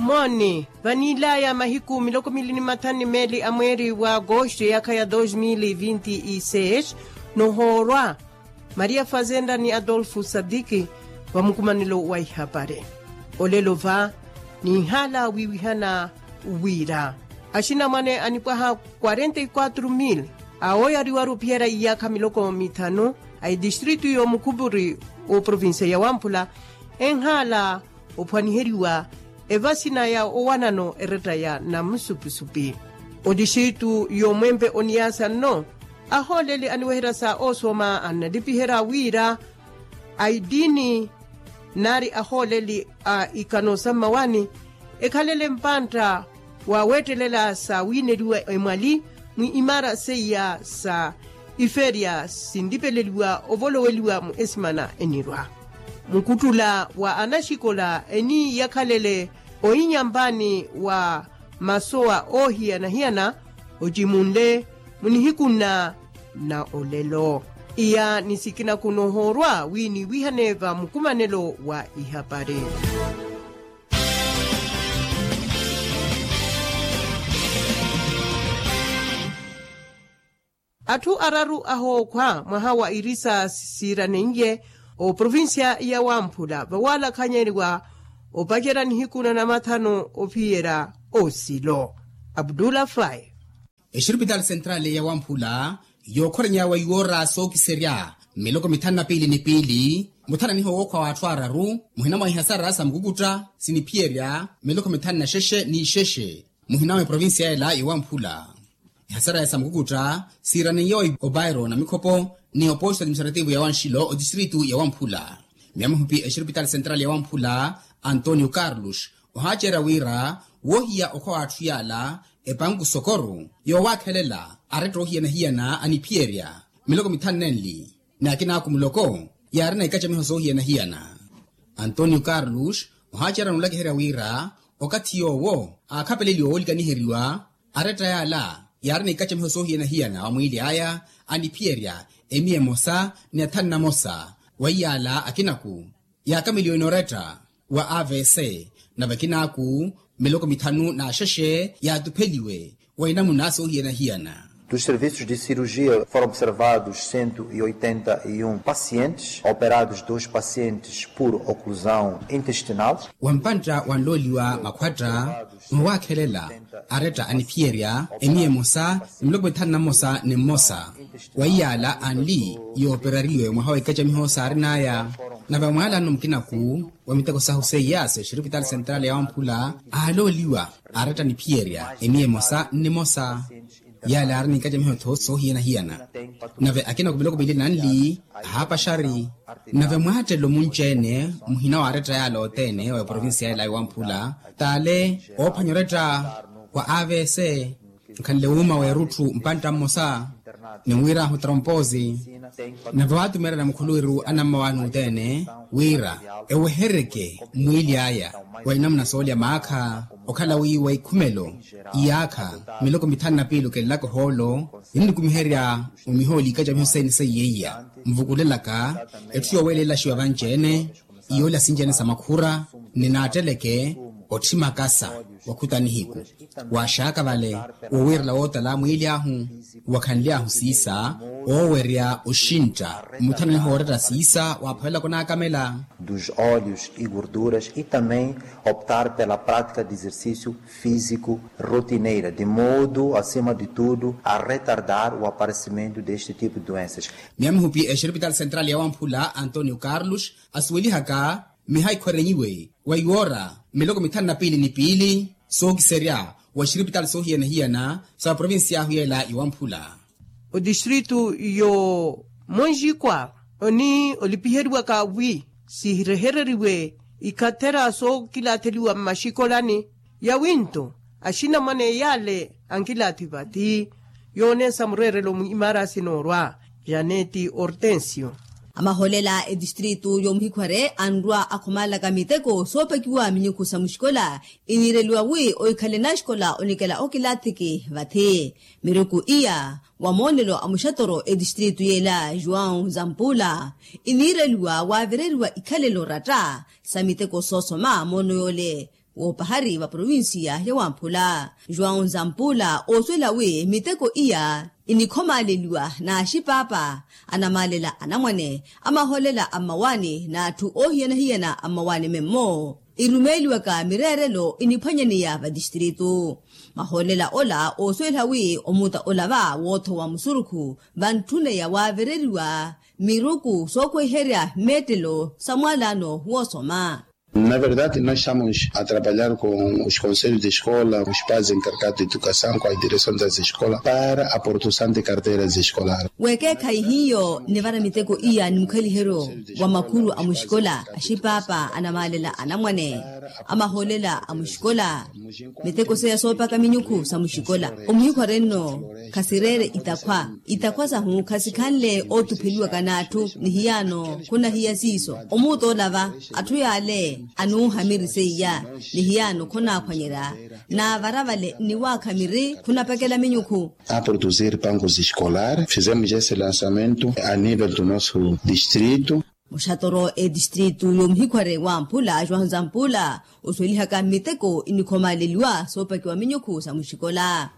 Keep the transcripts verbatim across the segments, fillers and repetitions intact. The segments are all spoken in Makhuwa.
Mooni, vaniilaya mahiku miloko mili ni mathanu ni meeli a mweeri wa agosto eyaakha ya dos mil vinti y seis, nohoorwa maria fazenda ni adolfo sadiki, vamukumanelo wa ihapari. Olelo va ninhala wiwihana wira axinamwane anipwaha quarenta y quatro mil awoyariwaru ophiyerya iyaakha miloko mithanu a etistritu y'omukhupuri w'oprovincia ya wamphula enhala ophwaniheriwa evasina ya owanano eretta ya namusupusupi. Otixitu y'omwempe oniyasa nno ahooleli aniweherya sa osoma annalipiherya wira aitini nari ahooleli a ikano sa mmawani ekhalele mpantta wa weettelela sa wiineliwa emwali mwi imara seiya sa iferiya sintipeleliwa ovoloweliwa mu esimana enirwa. Mukuttula wa anaxikola eniiyakhalele oinyampani wa masowa oohiyana-hiyana ocimunle munihiku nna na olelo. Iya ni sikina kunohoorwa wi niwihane va mukumanelo wa ihapari. Atthu araru ahookhwa mwaha wa irisa siiraneiye oprovincia ya wamphula vawalakhanyeriwa opacerya nihiku na namathanu ophiyerya osilo. Abdullah fai. Exiripitali sentrali ya wamphula yookhorenyawe iwoora sookiserya miloko mithanu na piili ni piili muthananiho wookhwa wa atthu araru muhina mwa ihasara sa mukukutta siniphiyerya miloko mithanu na xexe ni xexe muhina mwa eprovincia ela ya wamphula. Ihasara ya sa mukukutta siiraneiye obairo na mikhopo ni oposto administrativo ya wanxilo otistritu ya wamphula. Miya mihupi exiripitali sentrali ya wamphula antonio carlos ohaacerya wira woohiya okhwa w'atthu yaala epanku sokoru yoowakhelela aretta oohiyana-hiyana aniphiyerya miloko mithanu nenli ni akinaaku muloko yaarina ikacamiho soohiyana-hiyana. Antonio carlos ohaacerya n'ulakiherya wira okathi yoowo aakhapeleliwa woolikaniheriwa aretta yaala yaarina ikacamiho soohiyana-hiyana wa mwiili aya aniphiyerya emiya emosa ni athanu namosa wa iyaala akinaku yaakameliwe noretta wa avc nave akinaaku miloko mithanu n'axexe yaatupheliwe wa inamuna soohiyana-hiyana. Dos serviços de cirurgia foram observados cento e oitenta e um pacientes operados dois pacientes por oclusão intestinal. Wa mpantta wanlooliwa makhwatta mwawaakhelela aretta aniphiyerya emiya emosa ni miloko mithanu na mmosa ni mmosa wa iyaala anli yooperariwe mwaha wa ikacamiho saarin'aya. Nave mwaala nno mukinaku wa miteko sahu seiya sa exiripitali sentrali ya wamphula aalooliwa aretta aniphiyerya emiya emosa ni nimosa yaale aari ni ikacamiho tho soohiyana-hiyana. Nave akina ku miloko miili nanli ahaapaxari nave mwaattelo munci-ene muhina wa aretta yaale othene wa eprovincia ela ya wamphula taale oophwanya oretta wa avc nkhanle wuuma w'erutthu mpantta mmosa ni wirahu trompoosi. Nave waatumeerya na mukhuluwiru anammawaani othene wira ewehereke mwiili aya wa inamuna soolya maakha okhala wi wa ikhumelo iyaakha miloko mithanu na piili okelelaka ohoolo ninikumiherya omihooli ikacamiho sene seiya iya nvukulelaka etthu yoowelela axiwa vanci-ene iyoolya sinci-ene sa makhura ni naatteleke otthi makasa wa khuta nihiku waaxaaka vale wowiirela wootala mwiili ahu wakhanly'ahu siisa oowerya oxintta muthananiho wooretta siisa waaphoyelaka onaakamela. Dos óleos e gorduras e também optar pela prática de exercício físico rotineira de modo acima de tudo a retardar o aparecimento deste tipo de doenças. Miya mihupi exiripitali sentrali ya wamphula antonio carlos asuwelihaka miha ikhwerenyiwe wa iwoora miloko mithanu na piili ni piili sookiserya wa exiripitali soohiyana-hiyana sa provincia ahu yeela ya wamphula. Otistritu yo monjikwa oni olipiheriwaka wi sihirehereriwe ikhathera sookilaatheliwa mmaxikolani yawinto axinamwane yaale ankilaathi vathi. Yooneesa mureerelo mu imaara sinoorwa janeti hortensio. Amahoolela etistritu yomuhikhware anrwa akhumalaka miteko soopekiwa minyukhu sa muxikola iniireliwa wi ohikhale naxikola onikela okilaathiki vathi miruku iya wa moonelo a muxatoro etistritu yeela joão zampula iniireliwa waavireriwa ikhalelo oratta sa miteko soosoma moono yoole woopahari va provincia ya wamphula. João zampula oosuwela wi miteko iya inikhomaaleliwa n'axipaapa anamaalela anamwane a mahoolela a mmawaani n'atthu oohiyana-hiyana a mmawaani memmo irumeeliwaka mireerelo iniphwanyaneya va tistritu. Mahoolela ola oosuwela wi omuta ola va woothowa musurukhu vantthuneya waavereriwa miruku sookweherya mmeettelo sa mwaalano woosoma. Na verdade nós estamos a trabalhar com os conselhos de escola, os pais encarregados de educação com a direção das escolas para a produção de carteiras escolares. Weekeekhayi hiyo nivara miteko iya ni mukhaliheryo wa makhulu a muxikola, axipaapa anamaalela anamwane, a mahoolela a muxikola, miteko seya soopaka minyukhu sa muxikola. Omuhikhware nno khasireere itakhwa. Itakhwa sahu khasikhanle ootupheliwaka n'atthu ni hiyaano khunahiya siiso. Omuuta ola va atthu yaale anuuhamiri seiya ni hiyaano khonaaphwanyerya. Naavara vale nniwaakha miri khunapekela minyukhu. A produzir bancos escolares fizemos esse lançamento a nível do nosso distrito. Muxatoro etistritu y'omuhikhware wamphula joão zampula osuwelihaka mmiteko inikhomaaleliwa soopakiwa minyukhu sa muxikola.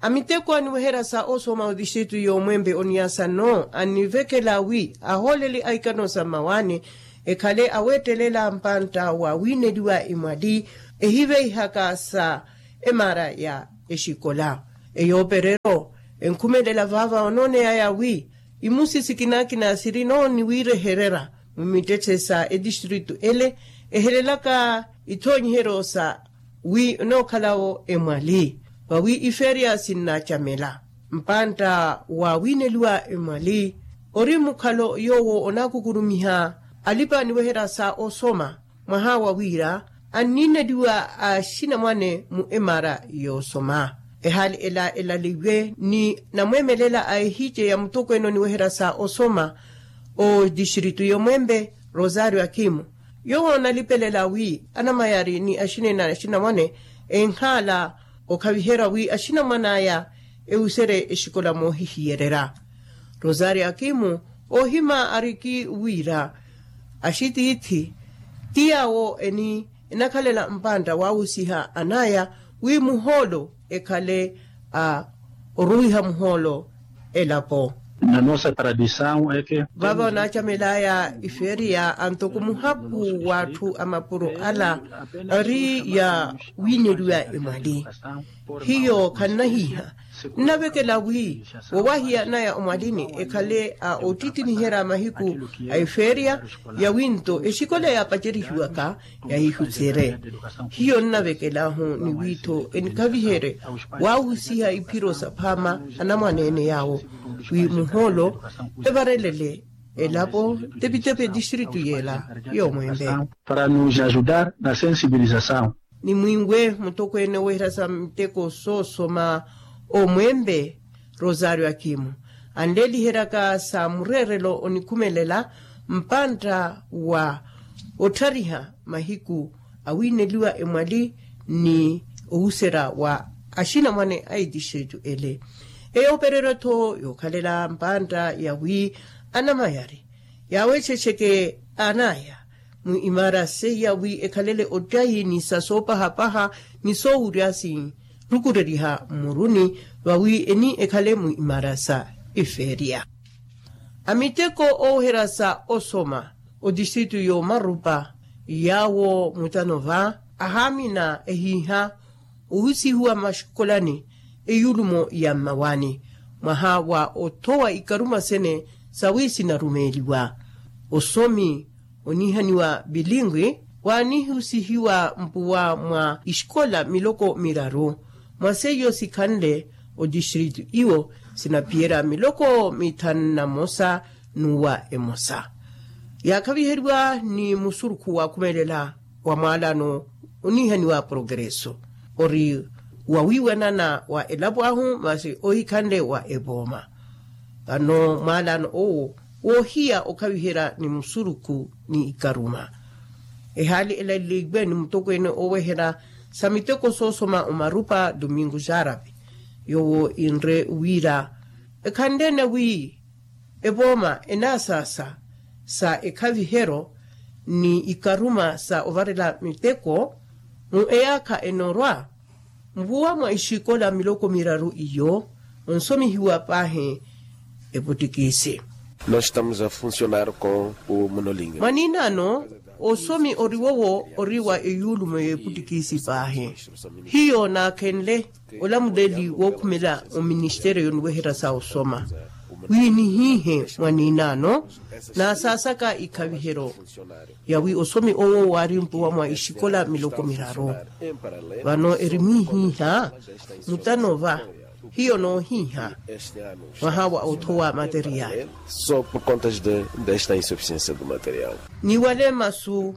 Amiteko aniweherya sa osoma otistritu y'omwempe oniasa nno anivekela wi ahooleli a ikano sa mmawaani ekhale aweettelela mpantta wa wiineliwa emwali ehiveihaka sa emara ya exikola. Eyoopereryo enkhumelela vaava onooneyaya wi imusi sikinakina siri nooniwiirehererya mmittette sa etistritu ele ehelelaka ithoonyiheryo sa wi enookhala-wo emwali vawi ifeeriya sinnacamela. Mpantta wa wiineliwa emwali ori mukhalo yoowo onaakukurumiha alipa aniweherya sa osoma mwaha wa wira anniineliwa axinamwane mu emara yoosoma. Ehaali ela elaleiwe ni namweemelela a ehice ya mutokweene oniweherya sa osoma otistritu y'omwempe rosario akimo yoowo onalipelela wi anamayari ni axinene axinamwane enkhaala okhaviherya wi axinamwane aya ewuserye exikola moohihiyererya. Rosario akimo oohima ariki wira axitiithi ti yaawo eni enakhalela mpantta waawusiha anaya wi muhoolo ekhale a oruwiha muhoolo elapo. Na nossa tradição é que vaava onaacamelaya ifeeriya antoko muhapu w'atthu a mapuro ala ari ya wiineliwa emwali hiyo khannahiiha nnavekela wi wowahiya naya omwalini ekhale a ottittiniherya mahiku a efeeriya ya winto exikola yaapacerihiwaka yahihuserye. Hiyo nnavekel'ahu ni wiitho enikhaviherye waawusiha iphiro saphaama anamwaneene yaawo wi muhoolo evarelele elapo tepitepi etistritu yeela y'omwempe. Para nos ajudar na sensibilização. Ni mwiiwe mutokweene oweherya sa miteko soosoma omwempe rosario akimo anleeliheryaka sa mureerelo onikhumelela mpantta wa otthariha mahiku awiineliwa emwali ni owuserya wa axinamwane a etistritu ele. Eyoopereryo-tho yookhalela mpantta ya wi anamayari yaawexexeke anaya mu imara seiya wi ekhalele ottayi ni sa soopahapaha ni soowurya sinrukureriha mmuruni vawi eni ekhale mu imara sa efeeriya. Amiteko ooweherya sa osoma otistritu y'omarupa yaawo mutano va ahaamina ehiiha ohusihiwa maxikolani eyulumo ya mmawaani mwaha wa othowa ikaruma sene sawi sinarumeeliwa osomi onihaniwa bilingwi waanihusihiwa mpuwa mwa isikola miloko miraru mwa seiyo sikhanle otistritu iwo sinaphiyerya miloko mithanu na mosa n'uwa emosa yaakhaviheriwa ni musurukhu waakhumelela wa mwaalano onihaniwa progreso ori wawiiwanana wa elapo ahu masi ohikhanle wa epooma. Vano mwaalano owo woohiya okhaviherya ni musurukhu ni ikaruma ehaali elaleiwe ni mutokweene oweherya sa miteko soosoma omarupa domingo xarapi yoowo inre wira ekhanle-ene wi epooma enaasaasa sa ekhaviheryo ni ikaruma sa ovarela miteko Mu eyaakha enorwa, mvuwa mwa ixikola miloko miraru iyo onsomihiwa paahi eputtikisi. Nós estamos a funcionar com o monolíngue. Mwaninaano, osomi oriwowo ori wa eyuulumo y'eputtikisi paahi. Hiyo naakhenle olamuleli wookhumela oministeriyo niweherya sa osoma, wi nihiihe mwaninaano naasaasaka ikhavihero yawi osomi owo waari mpuwa mwa ixikola miloko miraru. Vano eri mwihiiha mutano va hiyo noohiiha mwaha wa othowa materiali. Só por contas de desta insuficiência do material. Ni wale masu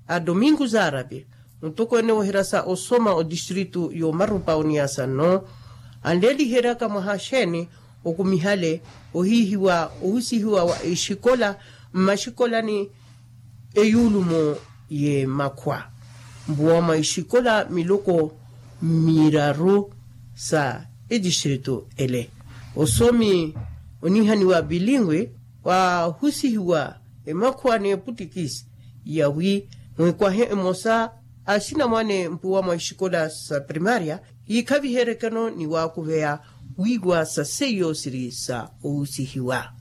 a domingo zarabe, mutokweene wohirasa osoma o distritu y'omarupa oniasa nno anleeliheryaka mwaha xeeni okumihale ohiihiwa ohusihiwa wa exikola mmaxikolani eyuulumo y'emakhwa mpuwa mwa exikola miloko miraru sa etistritu ele. Osomi onihaniwa bilingwi waahusihiwa emakhuwa n'eputtikisi yawi mwekwahe emosa a sinamwane mpuwa mwa exikola sa primaria yiikhaviheryekeno ni waakuveya wiiwa sa seiyo siri sa ohusihiwa.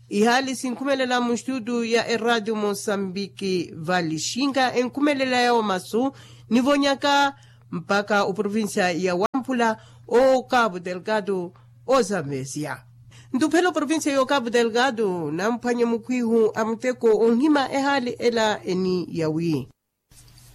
Ihaali sinkhumelela muxitutu ya eraatio mosambiki valixinka enkhumelela yawo masu nivonyaka mpaka oprovincia ya wamphula o cabo delgado ozambesia. Ntuphela oprovincia yo cabo delgado namphwanye mukhwihu a muteko onhima ehaali ela eni yawi.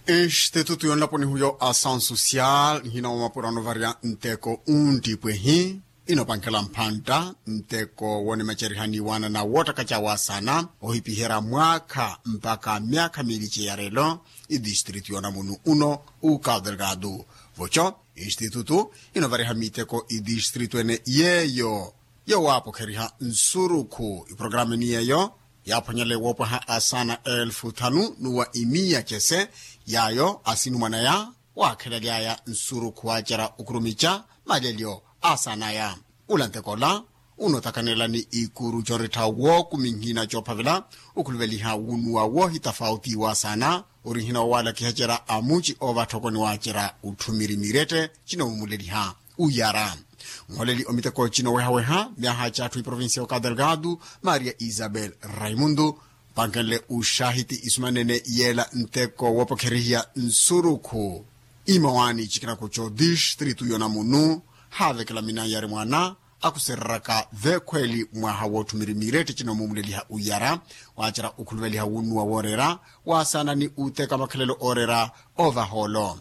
Institutu yonlaponihu yo asansosial nhina wamapura onovarya nteko unttipwehi inopankela mphantta nteko wonimaceriha ni waanana woottakaca waasana ohipiherya mwaakha mpaka myaakha miili ceyarelo. Idistritu yonamunu uno uka delgado voco institutu inovariha miteko idistritu ene yeeyo yowaapokheriha nsurukhu iprokarameni yeeyo yaaphwanyale woopwaha asaana elfu thanu n'uwa imiya cese yaayo asinumwanaya waakhelaly'aya nsurukhu waacerya okhurumica malelyo asaanaya. Ula nteko ola unotakanela ni ikuru corittha wookuminhina coophavela okhuluveliha wunuwa woohitafauti waasaana orihina wowalakiha cerya amuci oovattha okoni waacerya utthumiri mirette cinoomumuleliha uyara. Nholeli omiteko cino wehaweha myaha catthu iprovincia oka delgado maria isabel raimundo pankenle uxahiti isumanene yeela nteko woopokherihiya nsurukhu imawaani cikina kuco distritu yonamunu haavekela minanyari mwaana akusereraka veekhweeli mwaha wootthumirimiretti cinoomumuleliha uyara waacerya okhuluveliha wunnuwa wooreera waasaana ni uteka makhalelo ooreera ovaha olo.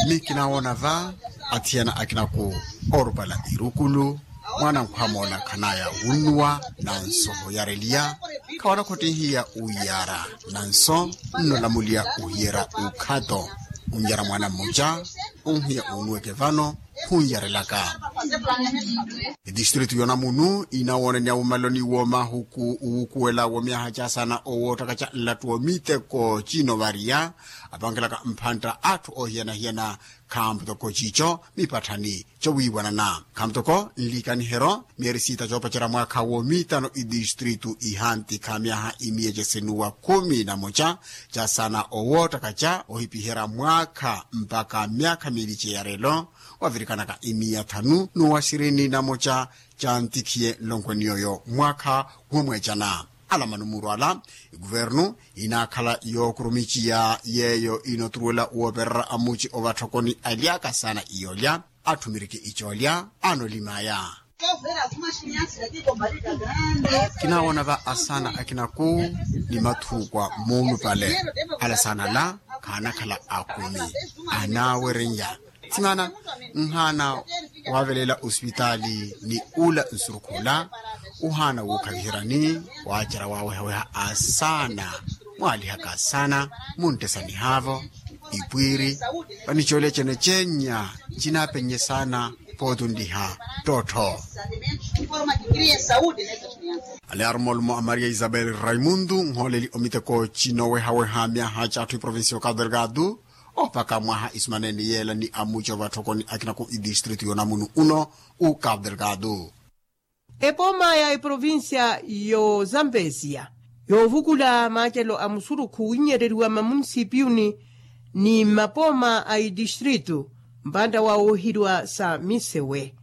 Mikinaawoona va athiyana akinaku oorupala irukulu mwaana nkhwamoola khanaya wunnuwa nanso hoyareliya khawana khottinhiya uyara nanso nnolamuliya ohiyera ukhato unyara mwaana mmoca onhiya unuweke vano hunyarelaka. Etistritu yonamunu inawoonaniya wumaloni womahuku uwukuwela womyaha casaana owoottaka ca nlattu womiteko cinovariya apankelaka mphantta atthu oohiyana-hiyana khamputoko ciico mipatthani cowiiwanana khamputoko nlikaniheryo myeeri siita coopacerya mwaakha womiitano itistritu ihantikha myaha imiya cesinuwa khumi na moca casaana owoottaka ca ohipiherya mwaakha mpakha myaakha miili ceyarelo wavirikanaka imiya thanu n'uwa sirini na moca cantikhiye nlonkweni yooyo mwaakha womweecana. Ala manumuru ala ekuvernu inaakhala yookurumiciya yeeyo inoturuwela woopererya amuci ovatthokoni alyaka saana iyoolya atthu miriki icoolya aanolimaya. Kinaawoona va asaana akinaku ni mathuukwa muulupale ala saana ala khaanakhala akumi anaawereya. Thimana nhaana wavelela osipitaali ni ula nsurukhula uhaana wuukhaviheryani waacerya waawehaweha asaana mwaalihaka asaana munttesanihaavo ipwiiri vanicoolya cene cenya cinaapenye saana pootunliha ttottho. Alearumolumo a maria isabel raimundo nhooleli omiteko cinowehaweha myaha catthu iprovincia okadelgado opaka mwaha isumanene yeela ni amuci ovatthokoni akinaku itistritu yonamunu uno ukadelgado. Epooma ya eprovincia yo zambesia Yoovukula maacelo a musurukhu winyereriwa mamunisipiyuni ni mmapooma a itistritu mpantta wa woohiriwa sa misewe.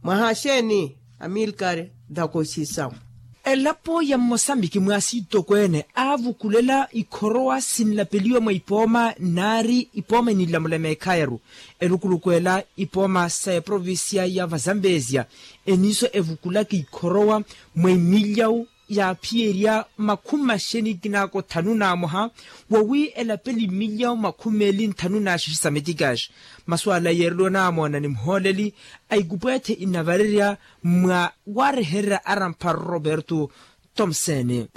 Mwaha axeeni amilkar? Dakoxisamu. Elapo ya mmosambiki mwaasitokweene aavukulela ikhorowa sinlapeliwa mwa ipooma naari ipooma ininlamula meekhayaru. Elukuluku ela ipooma sa eprovincia ya vazambezia eniso evukulaka ikhorowa mwa imilyawu yaaphiyerya makhumi maxeni kinaaka othanu na mwaha wawi elapeli imilyawu makhumi meeli nthanu na xexe sa metikaxi. Masu ala yeereliwa namoona ni muhooleli a ikupweethe inavarerya mwa waarehererya arampha roberto tomsene.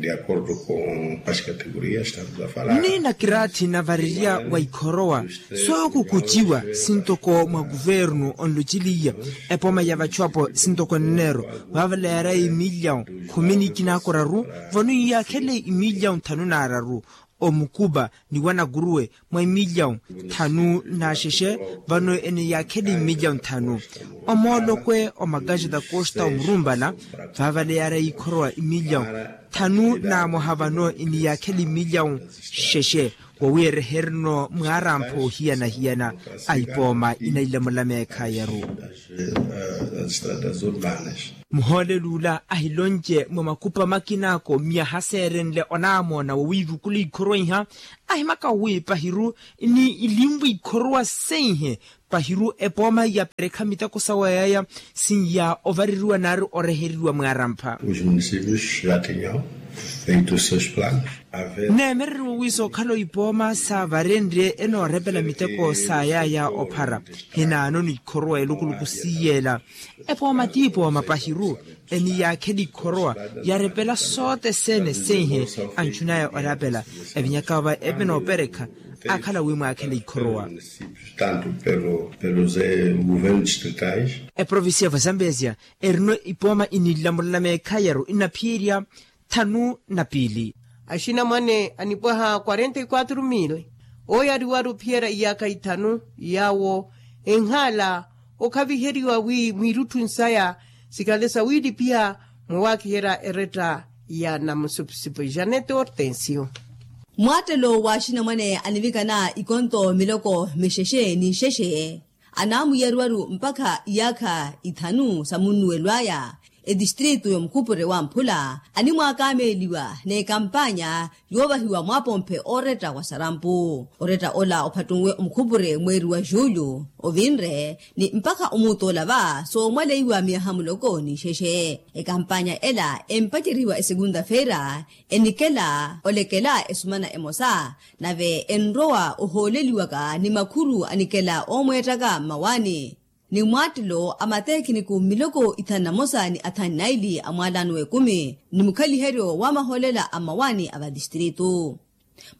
Ni nakiraathi navarerya wa ikhorowa sookukuciwa sintoko mwa kuvernu onlociliya epooma ya vachu apo sintoko nneero. Vaavala yaaraya imilyawu khumi ni kinaaka oraru vano iyaakhele imilyawu nthanu na araru. Omukupa ni wanakuruwe mwa imilyawu nthanu na xexe vano ene yaakhele imilyawu nthanu. Omoolokwe omakaxeta kosta omurumpala vaavala yaaraya ikhorowa imilyawu nthanu na mwaha vano ene yaakhele imilyawu xexe. Wawi erehereno mwaarampha ohiyana-hiyana a ipooma inailamula meekhayaru. Muhooleli ula ahilonce mwa makupa makinaako myaha seerenle onamoona wowiivukula ikhorowa iha ahimaka wi pahiru ni ilinvwa ikhorowa seihe pahiru epooma yaperekha miteko sawa yaya sinya ovareriwa naari oreheriwa mwaarampha. Os municípios já tinham feito seus planos. Neemereriwa wi sookhala ipooma saavarenrye enoorepela miteko sa yaya ophara. Hinaano ni ikhorowa elukuluku siiyeela epooma ti ipooma pahiru eni yaakhela ikhorowa yarepela sote sene seihe anchunaya orapela evinyaka va epe nooperekha akhala wi mwaakhela ikhorowa. Tanto pelo pelos governos distritais. Eprovincia va zambezia erino ipooma ininlamulala meekhayaru inaphiyerya thanu na piili. Axinamwane anipwaha quarenta e quatro mil ooyariwaru ophiyerya iyaakha ithanu yaawo enhaala okhaviheriwa wi mwiirutthu nsaya sikhale sawiilipiha mwa waakiherya eretta ya namusupusupu janete hortensio. Mwaattelo wa axinamwane anivikana ikonto miloko mixexe ni nxexe anaamuyariwaru mpakha iyaakha ithanu sa munnuwelo aya etistritu y'omukhupure wa mphula animwaakameeliwa n'ekampaanya yoovahiwa mwaapomphe ooretta wa sarampu. Oretta ola ophattunwe omukhupure mweeri wa julho ovinre ni mpakha omuutola va soomwaleiwa miyaha muloko ni nxexe. Ekampaanya ela empacerihiwa esekunda feira enikela olekela esumana emosa nave enrowa ohooleliwaka ni makhuru anikela oomweettaka mmawaani ni mwaattelo a mateekiniku miloko ithanu na mosa ni athanu naili a mwaalano w'ekumi ni mukhaliheryo wa mahoolela a mmawaani a vatistritu.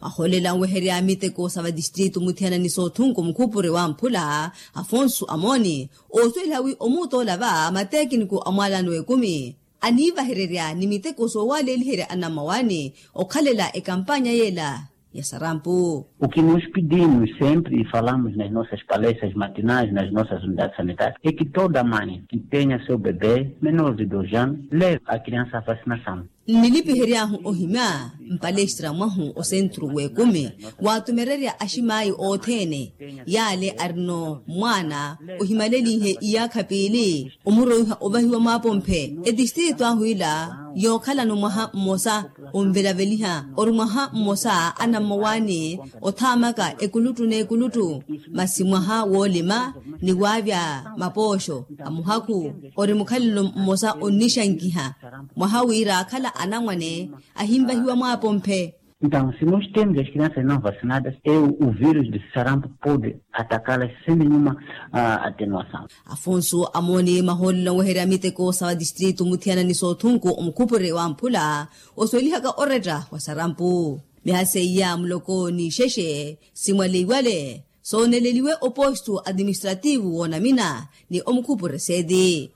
Mahoolela anweherya miteko sa vatistritu muthiyana ni soothunku mukhupure wa mphula afonso amooni oosuweliha wi omuutola va mateekiniku a mwaalano w'ekumi aniivahererya ni miteko soowaleeliherya anammawaani okhalela ekampaanya yeela ya sarampu. O que nós pedimos sempre e falamos nas nossas palestras matinais nas nossas unidades sanitárias é que toda mãe que tenha seu bebê menor de dois anos leve a criança à vacinação. Nnilipihery'ahu ohimya mpalestra mwahu osentru w'ekumi waatumererya aximaayi othene yaale arino mwaana ohimalelinhe iyaakha piili omuroiha ovahiwa mwaapomphe etistritu ahu ila yookhalano mwaha mmosa onvelaveliha ori mwaha mmosa anammowaani othaamaka ekuluttu n'ekuluttu masi mwaha woolima ni waavya mapooxo a muhakhu ori mukhalelo mmosa onnixankiha mwaha wira akhala anamwane ahinvahiwa mwaapomphe. Então se nós temos as crianças não vacinadas é o vírus de sarampo pode atacá-las sem nenhuma atenuação. Afonso amooni mahoolelo anweherya miteko sa vatistritu muthiyana ni soothunku omukhupure wa mphula osuwelihaka oretta wa sarampu miha seiya muloko ni nxexe simwaleiwale sooneleliwe opostu atiministrativu woonamina ni omukhupure seeti.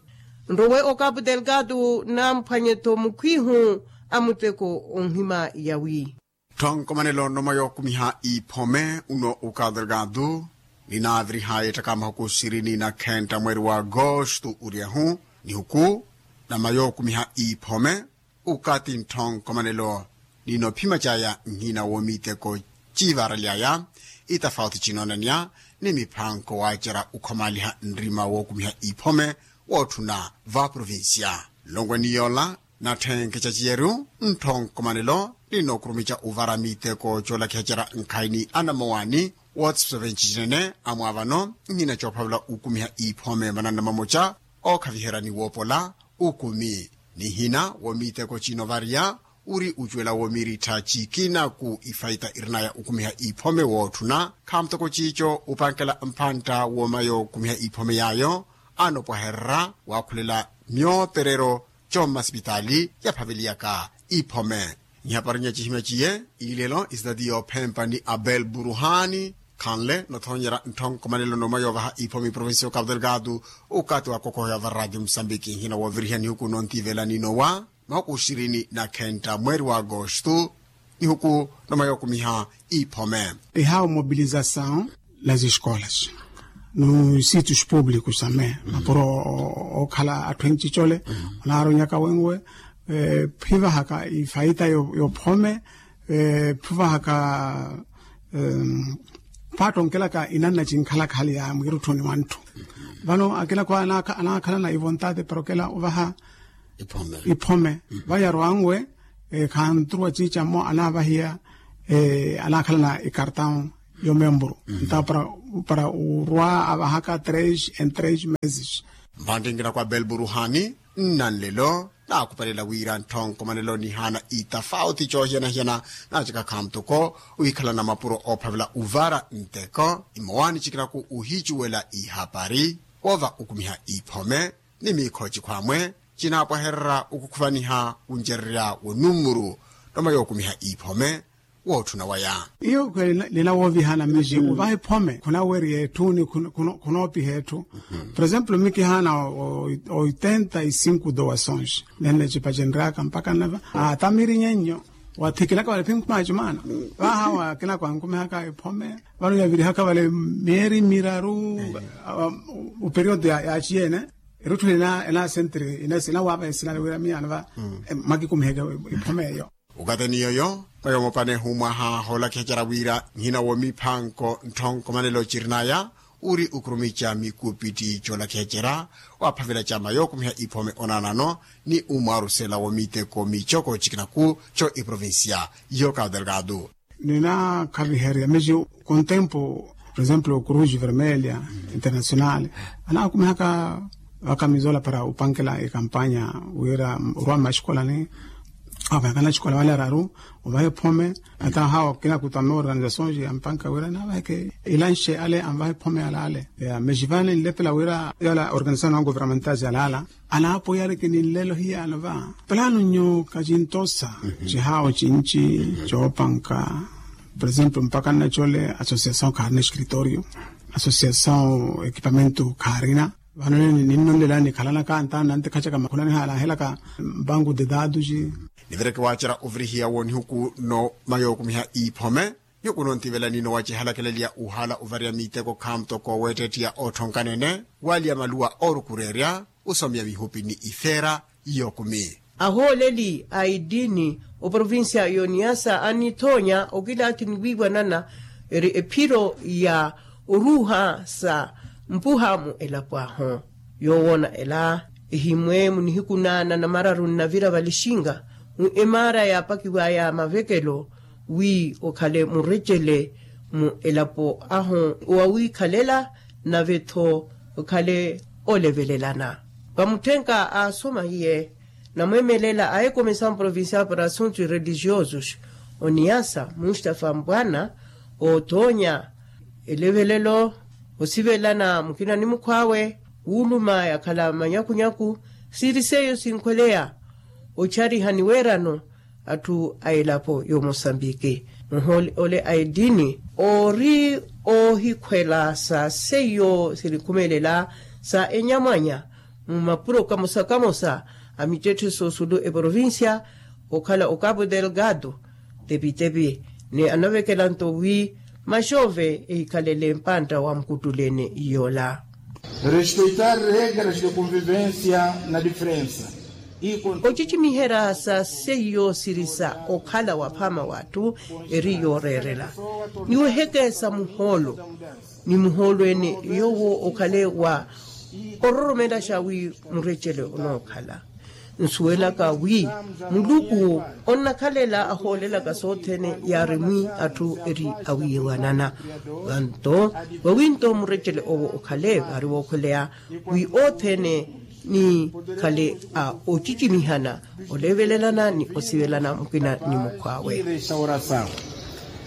Nrowe okapu delgado namphwanye-tho mukhwihu a muteko onhima yawi. Tthonkomanelo nnoma yookumiha iphome uno ukadelgado ninaaviriha yeettaka mahuku sirini na khentta mweeri wa agosto oryahu nihuku nnoma yookumiha iphome. Ukathi ntthonkhomanelo Ninophima caya nhina wo miteko ciivaraliyaya itafauti cinoonaniya ni miphanko wacerya ukhomaaliha nrima wookumiha iphome wootthuna va provincia. Nlongwe ni yoola natthenkhe caciyeryu nttho nkomanelo ninookurumica uvara miteko coolakihacerya nkhayi ni anamowani wootsiso venci cinene amwaavano nhina coophavela ukumiha iphome mananna mamoca ookhaviherya ni woopola ukumi. Nihina wo miteko cinovariya uri ucuwela wo mirittha cikina ku ifaita irinaya ukumiha iphome wootthuna khaamutoko ciico upankela mphantta wo mayo okumiha iphome yaayo anopwahererya waakhulela myoperero commasipitaali yaphaveliyaka iphome. Nhaparinya cihimya ciye ilelo isitati yoophempa ni abel buruhani khanle nothoonyerya nttho nkomanelo nooma yoovaha iphome provincia okapu delgado. Okaati wa kokoho ya varadi musambiki nhina wooviriha nihuku nontivelani nowa makuxirini na khenta mweri wa agosto nihuku nooma yookumiha iphome. Ihawo mobilizasaw las escolas no sitios públicos ame mapuro okhala atthu enci cole. Onaaronyaka wenwe phivahaka ifaita yophome phivahaka paattonkelaka inanna cinkhalakha hali ya mwirutthuni wa ntthu. Vano akinakwa anaakhalana ivontati para okela ovaha iphome vayarwanwe khanturuwa ciica mmo anaavahiya anaakhalana ikartão yo membro nta para urwa avahaka tres en tres meses. Mpantti nkinakwa belburuhani nnanlelo naakupelela wira nttho nkomanelo nihaana itafauti coohiyana-hiyana naacaka khaamutoko wikhalana mapuro oophavela uvara nteko imowani cikinaku uhicuwela ihapari woova ukumiha iphome ni miikho cikhwamwe cinaapwahererya ukukhuvaniha wuncererya wo numuru nooma yookumiha iphome wootthuna waya. Iyo khweli nina woovihana miji uvaha iphome khunaweriya etthu ni khunoopiha etthu. Por exemplo mikihaana oitenta e cinco doações nenna ecipacenryaka mpaka nnava atamiri nyennyo wathikilaka vale phinkhuma ya cimaana vaha wa kinakwa nkumihaka iphome vano yavirihaka vale mieri miraru. Uperiodo ya ciyeene erutthu ina ena sentri ina sina wava esina wira miyana va mwakikumiheke iphome eyo. Ukateni yoyo mayo mopane humwaha hoolakihacerya wira nhina wo miphanko nttho nkomanelo cirinaya uri ukurumica mikupitti coolakihacerya waaphavela cama yookumiha iphome onaanano ni umwarusela wo miteko micoko cikinaku co iprovincia yo cabo delgado. Ninaakhaviherya miji kontempo por exemplo cruz vermelha internacional anaakumihaka vakamizola para upankela ekampanya wira orwa mmaxikolani avahakana axikola vale araru ovaha ephome. Ata hawa kinakuta me organizações ya mpanka wira naavaheke ilanxe ale anvaha ephome yala ale ya mexivane nlepela wira yala organizações non governamentais yala ala anaapoyareke ni nlelo hiyaano va. Plano nyo kacintosa cihawo cinci coopanka por exemplo mpaka nnacole associação kharina escritorio associação equipamento kharina. Vano ninnonlelani khalanaka ntaani nantikhacaka makhulani halahelaka mpanku de dados. Nivireke waacerya ovirihiya wo nihuku no mayookumiha iphome nihuku nontivelani nowacihalakeleliya uhaala ovariya miteko khaamutoko weetteettiya ootthonkanene waaliya maluwa oorukureerya usomiya mihupi ni ifeera yookumi. Ahooleli a iddini oprovincia yoniyasa anithoonya okilaathi ni wiiwanana eri ephiro ya oruuha sa mpuha mu elapo ahu. Yoowoona ela ehimwe munihiku naana namararu nnavira valixinga mu emaara yaapakiwaya mavekelo wi okhale murecele mu elapo ahu owawiikhalela nave-tho okhale olevelelana. Vamutthenka aasoma hiye namweemelela a ecomissaw provincial para assuntos religiosos oniyasa mustafa mbwana ootoonya elevelelo osivelana mukina ni mukhw'awe wuuluma yakhala manyakunyaku siiri seiyo sinkhweleya ochariha ni weerano atthu a elapo y'omosambiki muhooli ole a eddini oori oohikhwela sa seiyo sinikhumelela sa enyamwanya mu mapuro kamosa kamosa a mittetthe soosulu eprovincia okhala o cabo delgado tepitepi ni anavekela nto wi maxoove ehikhalele mpantta wa mukuttuleene yoola. Respeitar regras de convivencia na diferensa. Ocicimiherya sa seiyo siri sa okhala waphaama w'atthu eri yooreerela, ni wehekeesa muhoolo, ni muhoolo-ene yoowo okhale wa ororomelaxa wi murecele onookhala. Nsuwelaka wi muluku onnakhalela ahoolelaka sothene yaari mwi atthu eri awiiwanana. Vanto vawi nto murecele owo okhale vaari wookhweleya wi othene nikhale a ocicimihana, olevelelana ni osivelana mukina ni mukhw'awe. Restauração.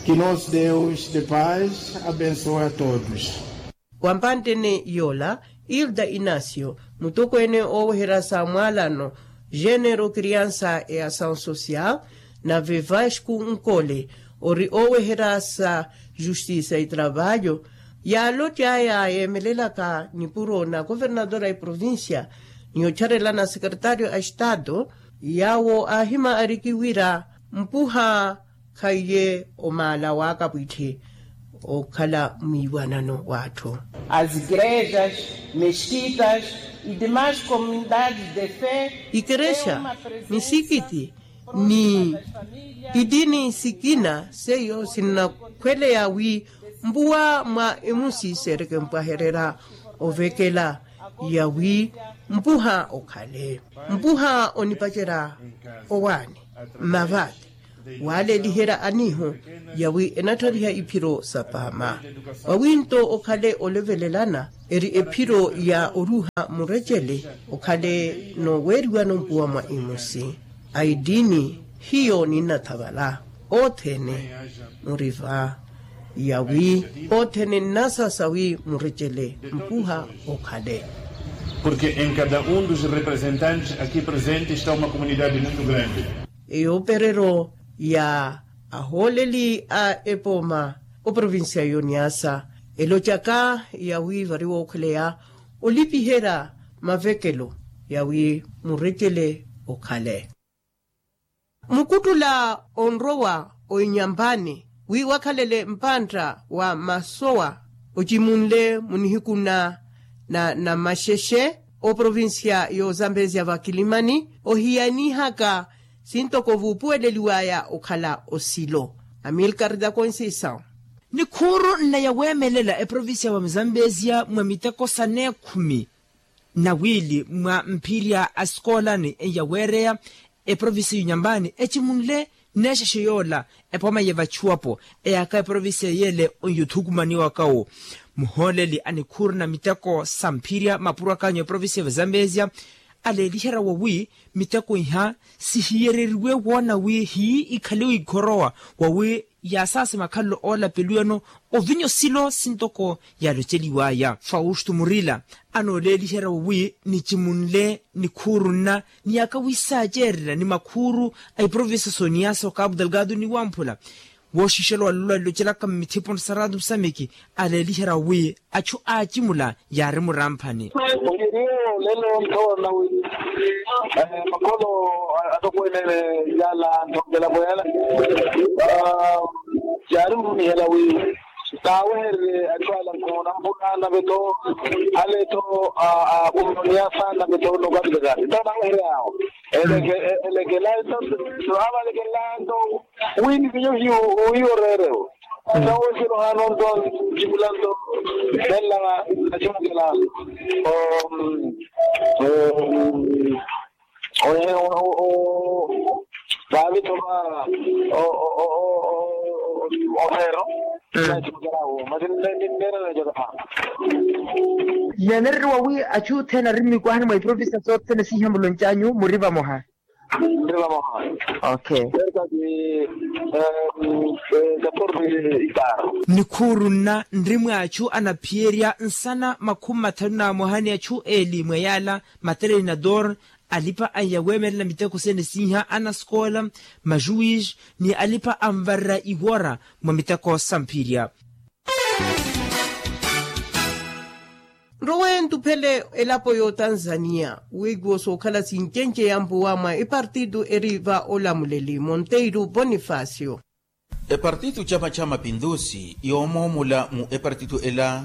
Que nosso Deus de paz abençoe a todos. Wa mpantte-ene yoola, ilda inacio, mutokweene ooweherya sa mwaalano, genero criança e ação social, nave vasco nkole, ori ooweherya sa justiça e trabalho, yaalott'aya yeemelelaka nipuro na governadora e provincia, ni otxarelana secretário a estado, yaawo aahima ariki wira mpuha khaiye omaala w'akapwitthi okhala mwiiwanano w'atthu. As igrejas, mesquitas e demais comunidades de fé. Ikerexa, misikiti, ni itini sikina seiyo sinnakhweleya wi mpuwa mwa emusi seereke mpwahererya ovekela, yawi mpuha okhale, mpuha onipacerya owaani, mmavati, waaleliherya aniiho, yawi enattariha iphiro sa paama. Vawi nto okhale olevelelana, eri ephiro ya oruha murecele, okhale nooweeriwano mpuwa mwa imusi. Aitini, hiyo ninnathavala othene muri va, yawi othene nnasasa wi murecele mpuha okhale. Porque em cada um dos representantes aqui presentes está uma comunidade muito grande. Eyoopereryo ya ahooleli a epooma oprovincia yoniasa, elocaka yawi vari wookhweleya olipiherya mavekelo yawi murecele okhale. Mukuttula onrowa oinyampani wi wakhalele mpantta wa masowa ocimunle munihiku na namaxexe, oprovincia y'ozambezia vakilimani ohiyanihaka sintoko vuupuweleliwaya okhala osilo. Amilcar da conceição. Nikhuuru nna yaweemelela eprovincia wa muzambezia mwa miteko saneekhumi na wiili mwa mphirya a sikoolani eyaweereya eprovincia y'unyambani ecimunle neexexe yoola epooma yevachuwapo eyaaka eprovincia yeele onyothukumaniwaka-wo. Muhooleli a nikhuuru na miteko sa mphirya mapuro akanyu eprovincia ya vazambezia aleeliherya wawi miteko iha sihiyereriwe woona wi hii ikhale wiikhorowa wawi yaasaase makhalelo oolapeliwano ovinya osilo sintoko yaaloceliwaya fausto murila anooleeliherya wawi nicimunle nikhuuru nna ni yaaka wisaacererya ni makhuuru a iprovincia soniasa okapu delgado ni wamphula wooxixela walolwa lilocelaka mmithipo nsa ratu musamiki aleeliherya wi achu aacimula yaari muramphani. Ohiyeeriwe olelo nthoona wi makholo atokweene yaala nthokela poyala yaari murumihela wi taawehererye achu ala nkhoona mpuna nave-tho ale-tho akumoniasa nave-tho nokapitakani nto naaweheryaawo. Elekela nto aavalekelela nto wi nivinyo hiyo reerewo. Nto weselo hano nto ncikula nto nenlava nacimukela vaavi-tho va oheero. Nacimukela wo masi nneera neecoka phaama. Neenereriwa wi achu othene ari mmikwahani mwa iprovincia sothene siiha muloncanyu muri vamoha. Nri vamoha. Okay. Nikhuuru nna nri mwa achu anaphiyerya nsana makhumi mathanu na amoha ni achu eeli mwa yaala materinador alipa anyaweemelela miteko sene siiha anasikoola majuwis ni alipa anvarera iwora mwa miteko samphirya. Nrowe ntuphele elapo y'otanzaniya weekiwo sookhala sincenceya mpuwa mwa epartitu eri va olamuleli monteiro bonifacio. Epartitu cama ca mapindusi yoomoomula mu epartitu ela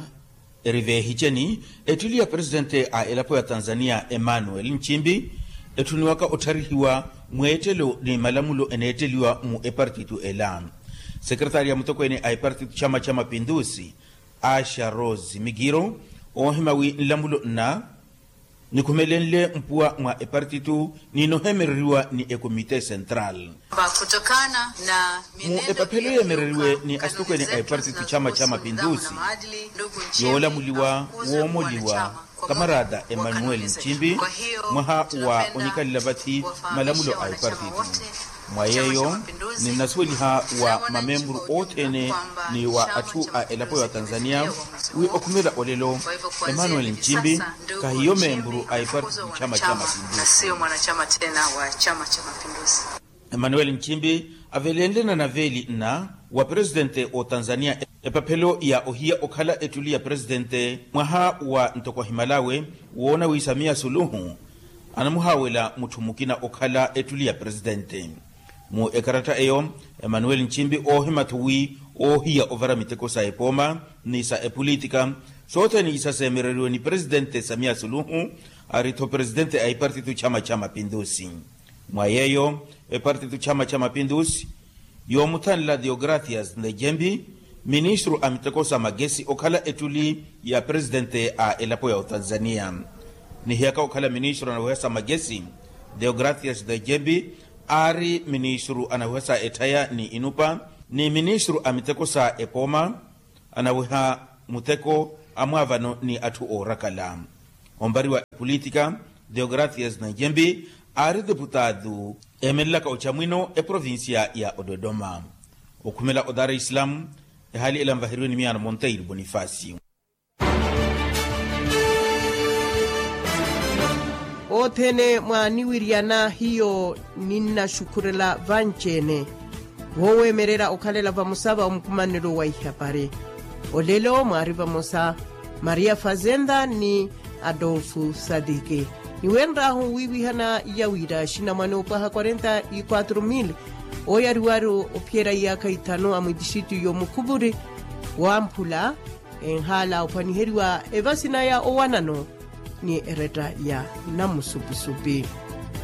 eri veehiceni ettili ya presitente a elapo ya tanzaniya emmanuel nchimbi etthuniwaka ottharihiwa mweettelo ni malamulo eneetteliwa mu epartitu ela. Sekeretari ya mutokweene a epartitu chama cha mapindusi, asha rose mikiro, oohima wi nlamulo nna nikhumelenle mpuwa mwa epartitu ni nohemereriwa ni ekomite sentral. Mu epaphelo yeemereriwe ni asitokweene a epartitu chama cha mapindusi, yoolamuliwa woomoliwa kamarata emanuel nchimbi, mwaha wa onikalela vathi malamulo a epartitu. Mwa yeeyo, ninnasuweliha wa mamemburu othene ni wa atthu a elapo ya tanzania wi okhumela olelo, emanuel nchimbi kahiyo memburu a epartitu chama cha mapindusi. Emanuel nchimbi avelenle na naveeli nna wa presitente o tanzania epaphelo ya ohiya okhala ettuli ya presitente mwaha wa ntoko ahimalawe, woona wi samiya suluhu anamuhaawela mutthu mukina okhala ettuli ya presitente. Mu ekaratta eyo, emanuel nchimbi oohima-tho wi oohiya ovara miteko sa epooma ni sa epolitika, sothene isa seemereriwe ni presitente samiya suluhu, ari-tho presitente a epartitu chama cha mapindusi. Mwa yeeyo, epartitu chama cha mapindusi yoomuthanela deogracias ndejembi, ministru a miteko sa magesi okhala ettuli ya presitente a elapo ya otanzania. Nihiyaka okhala ministru anaweha sa magesi, deogracias ndejembi aari ministru anaweha sa etthaya ni inupa, ni ministru a miteko sa epooma anaweha muteko amwaavano ni atthu oorakala. Ompari wa epolitika, deogracias ndejembi aari deputado eemelelaka ocamwino eprovincia ya ododoma. Okhumela o dar es salaam, ehaali ela nvaheriwe ni miyaano monteiro bonifacio. Othene mwaaniwiryana hiyo ninnaxukhurela vanci-ene. Wooweemererya okhalela vamosa va omukumanelo wa ihapari. Olelo mwaari vamosa maria fazenda ni adolfo sadiki. Niwenr'ahu wiiwihana iya wira axinamwane opwaha quarenta e quatro mil ooyariwari ophiyerya iyaakha ithanu a mwitixitu y'omukhuvuri wamphula enhaala ophwaniheriwa evasina ya owanano ni eretta ya namusupi-supi.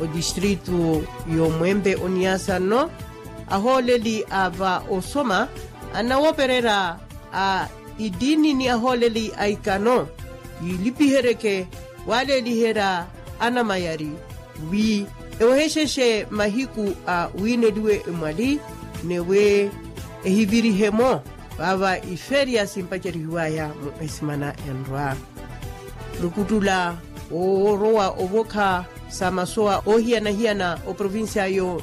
Odistritu y'omwempe oniasa nno ahooleli a va osoma anawopererya a itiini ni ahooleli a ikano yiilipiheryeke waleeliherya anamayari wi ewehexexe mahiku a wiineliwe emwali newe ehivirihemo. Vaava iferiya simpacerihiwaya mu esimana enrwa mukuttula woorowa ovokha sa masowa oohiyana-hiyana oprovincia yo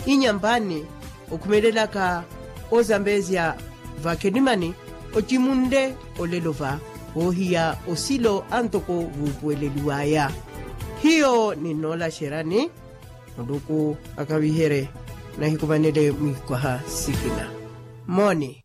inyampani okhumelelaka ozambezia vakhenimani ocimunle olelo va voohiya osilo antoko vuupuweleliwaya. Hiyo ninnoolaxeryani muluku akaviherye nahikumanele mwiikwaha sikina. Moni.